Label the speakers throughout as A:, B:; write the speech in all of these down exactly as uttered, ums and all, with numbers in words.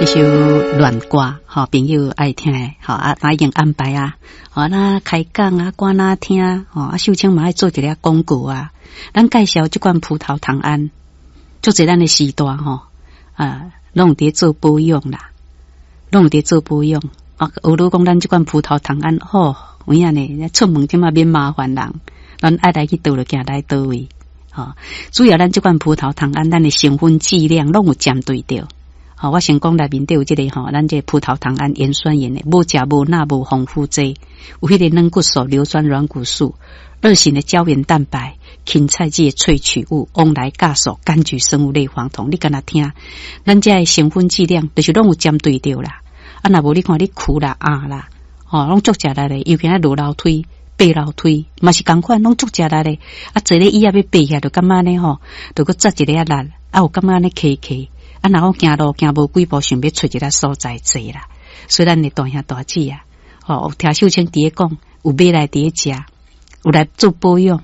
A: 這首戀歌，吼，朋友愛聽的，吼啊，已經安排啊，吼，那開講啊，歌哪聽，吼啊，秀清嘛愛做一个廣告啊。咱介紹這罐葡萄糖胺，足濟咱的時代吼，啊，攏有佇做保養啦，攏有佇做保養。啊，有如講咱這罐葡萄糖胺，吼，有影呢，出門這馬免麻煩人，咱愛來去佗就行來佗位，吼。主要咱這罐葡萄糖胺，咱的成分劑量攏有針對著。吼，我先講內面底有這個吼，咱這個葡萄糖胺鹽酸鹽的，無食無鈉無防腐劑，有彼個軟骨素、硫酸軟骨素、二型的膠原蛋白、芹菜籽的萃取物、旺來酵素、柑橘生物類黃酮。你敢若聽，咱這個成分劑量就是攏有針對著啦。啊，若無你看你跍啦、壓啦，吼，攏足食力的，尤其愛落樓梯、爬樓梯，嘛是仝款，攏足食力的。啊，坐咧椅仔欲爬起來，就感覺按呢吼，就閣扎一个仔力，啊，有感覺按呢磕磕。啊，若講行路行無幾步，想欲揣一个所在坐啦。所以咱的大兄大姊啊，吼，聽秀清佇咧講，有買來佇咧食，有來做保養。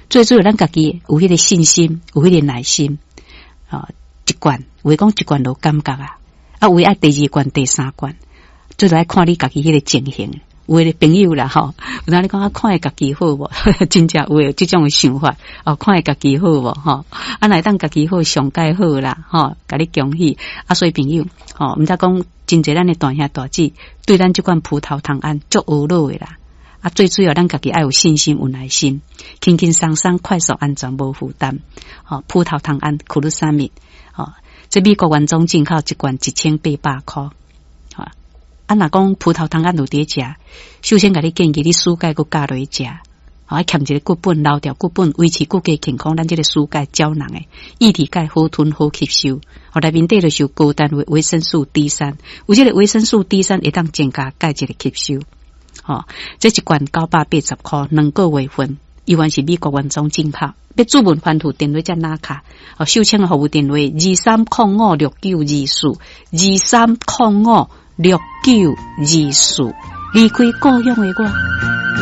A: 最主要咱家己有彼個信心，有彼個耐心。吼，一罐，有的講一罐就有感覺啊，啊，有的愛第二罐、第三罐，最主要看你家己彼個情形。有的朋友啦，吼，有當你講啊，看會家己好無？真正有的這種想法，哦，看會家己好無？吼，啊，若會當家己好，上蓋好啦，吼，共你恭喜。啊，所以朋友，吼，毋知講真濟咱的大兄大姊對咱這款葡萄糖胺足懊惱的啦。啊，最主要咱家己愛有信心、有耐心，輕輕鬆鬆、快速、安全、無負擔。吼，葡萄糖胺、苦魯沙米，吼，這美國原裝進口一罐一千八百箍。啊，若講葡萄糖胺有佇食，首先共你建議你舒鈣閣加落去食，吼，愛欠一个骨本，留著骨本，維持骨骼健康。咱這個舒鈣膠囊的，液體鈣好吞好吸收，吼，內面底就是有高單位維生素 D 三，有這個維生素 D 三會當增加鈣質的吸收。吼，這一罐九百八十箍，兩個月份，猶原是美國原裝進口。欲諮問番號電話才拿卡，哦，秀清的服務電話二三空五六九二四，二三空五六九二四，離開故鄉的我。